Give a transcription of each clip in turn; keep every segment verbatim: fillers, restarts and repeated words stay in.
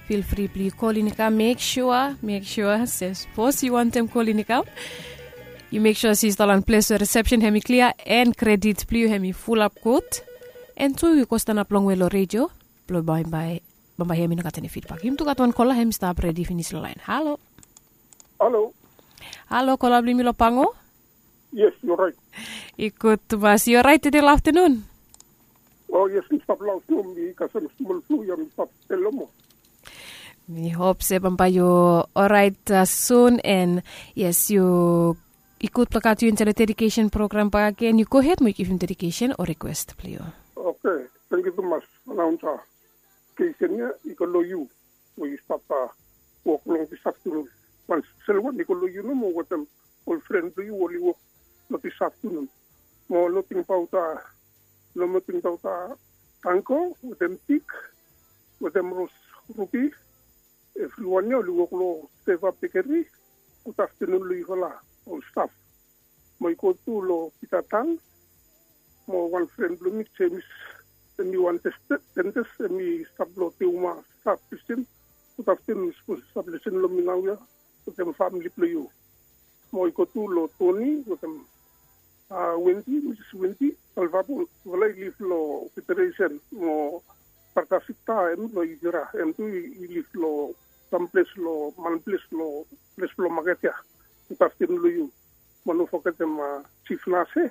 Feel free blong yu kol in i kam, mek sua mek sua se sapos yu wantem kol in i kam, yu mek sua se yu stap long ples we resepsen hem i klia and kredit blong yu hem i fulap gud. And tu yu go stanap longwe long redio blong bambae hem i no gat eni fidbak. Yumi tu gat wan kola hem i stap redi finis long lain. Halo. Halo. Halo, kola blong yumi long pango. Yes, yu orait? I gud tumas. Yu orait tede long aftanun? O yes, mi stap long aftanun, mi kasem smol flu ya, mi stap sel nomo. Mi hop se bambae yu orait sun. And yes, yu i gud blong gat yu insaed long dedikesen program bakagen. Yu gohed mo yu givim dedikesen o rikwes blong yu. Oke, tangkiu tumas. Anaunsa, dedikesen ya i go long yu we yu stap wok long dis aftanun. Wan spesel wan i go long yu nomo wetem ol fren blong yu oli wok long dis aftanun. Mo no tingbaot, no mo tingbaot, tango wetem pik wetem ros rubi. Evriwan ya oli wok long seva bekeri. Gud aftanun long yufala ol staf. Mo i go tu long pita tan mo wan fren blong mi, jemis, em i wan dentes, em i stap long teuma staf pisin. Gud aftanun, sapos i stap lisin long mi naoia wetem famili blong yu. Mo i go tu long toni wetem wendi, misis wendi, alvabol, vala i liv long federesen mo bartasita em long ivira em tu i liv long samples long manples long ples blong maket ya. Gud aftanun long yu. Mo no fogetem jif nase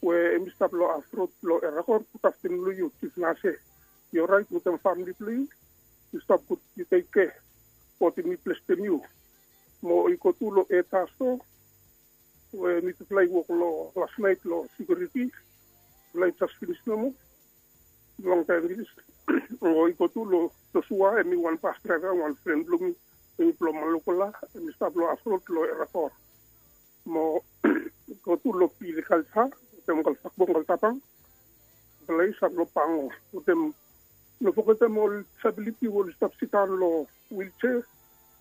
we em i stap long afrod long erakor. Gud aftanun long yu jif nase. Yu orait wetem famili blong yu? Yu stap gud, yu tekke. Gode mi blestem yu. Mo i go tu long etaso we mitufala i wok long lasnaet long sikiuriti. Mitufala i jas finis nomo. Longtaem finis. Mo i go tu long josua em i wan bas draeva wan fren blong mi, em i blong malokola, em i stap long afrod long erakor. Mo go tu long pilikalsa wetem kalsakbong kaltapang. Mitufala i stap long pango wetem, no fogetem ol disabiliti we oli stap sidaon long wilsea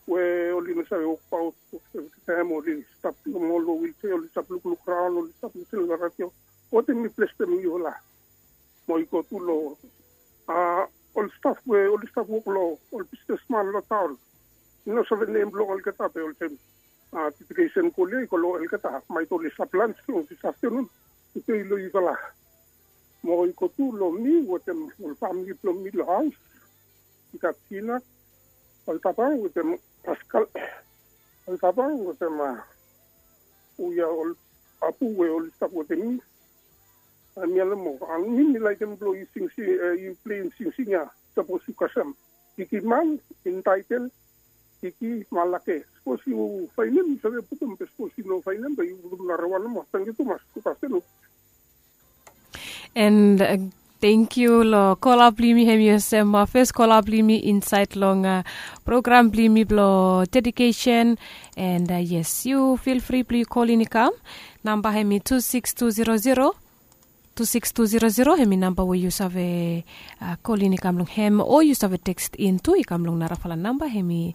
we oli no save wokbaot. Evri taem oli stap long ol long wilsea, oli stap lukluk raon, oli stap lisin long radio. Gode mi blestem yufala. Mo i go tu long ol staf we oli stap wok long ol bisnesman long taon. Mi no save nem blong olgeta be olsem dedikesen kol ya i go long olgeta. Maet oli stap lans long dis aftanun. Tede i long yufala. Mo i go tu long mi wetem ol famili blong mi long haos. I gat Tina Altapang wetem Paskal Altapang wetem ol ya ol apu we oli stap wetem mi. Mi ya nomo, mi mi laekem blong yu singsing, yu pleim singsing ya. Sapos yu kasem Kiki Man, intaetel Kiki Malake. Sapos yu faenem yu save putum, be sapos yu no faenem be yu putum narawan nomo. Tangkiu tumas. Gud aftanun. And tangkiu long kola blong yumi, hem i olsem fes kola blong yumi insaed long program blong yumi blong dedikesen. And yes, yu fil fri blong yu kol in i kam. Namba hem i tu siks tu zero zero, tu siks tu zero zero, hem i namba we yu save kol in i kam long hem, o yu save tekst in tu i kam long narafala namba, hem i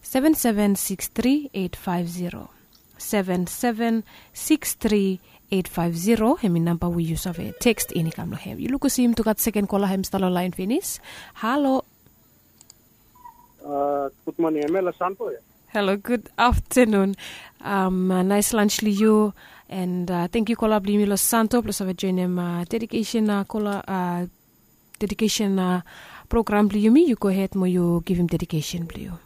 seven seven six three eight five zero. Seven seven six three eight five zero, hem i namba we yu save tekst in i kam long hem. Yu lukim se yumi tu gat seken kola, hem i stap long laen finis. Halo. Gud moning, hem ya long Santo ya. Halo, gud aftanun. Naes lans long yu. And tangkiu kola blong yumi long Santo blong save joenem dedikesen kola, dedikesen program blong yumi. Yu gohed mo yu givim dedikesen blong yu.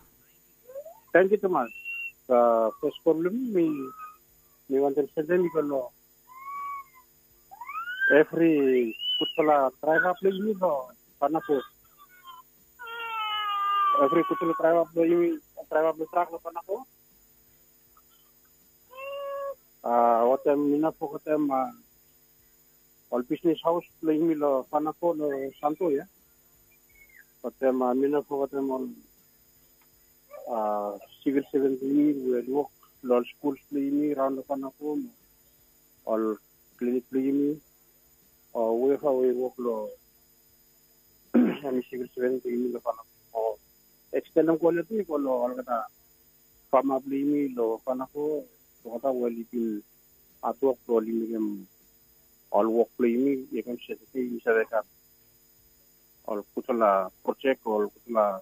Tangkiu tumas. Fes kol blong mi, mi wantem sendem i go long evri gudfala draeva blong yumi long Panako. Evri gudfala draeva blong yumi, draeva blong trak long Panako. Wetem mi no fogetem ol bisnes haos blong yumi long Panako, long Santo ya. Wetem mi no fogetem ol sivil seven blong yumi we oli wok long ol skuls blong yumi raon long Panako, mo ol klinik blong yumi, o whoever we i wok long eni sivil seven blong yumi long Panako. O ekstendem kol ya tu i go long olgeta fama blong yumi long Panako, olgeta we oli bin hatwok blong oli mekem ol wok blong yumi i kam se tede yumi save gat ol gudfala projek, ol gudfala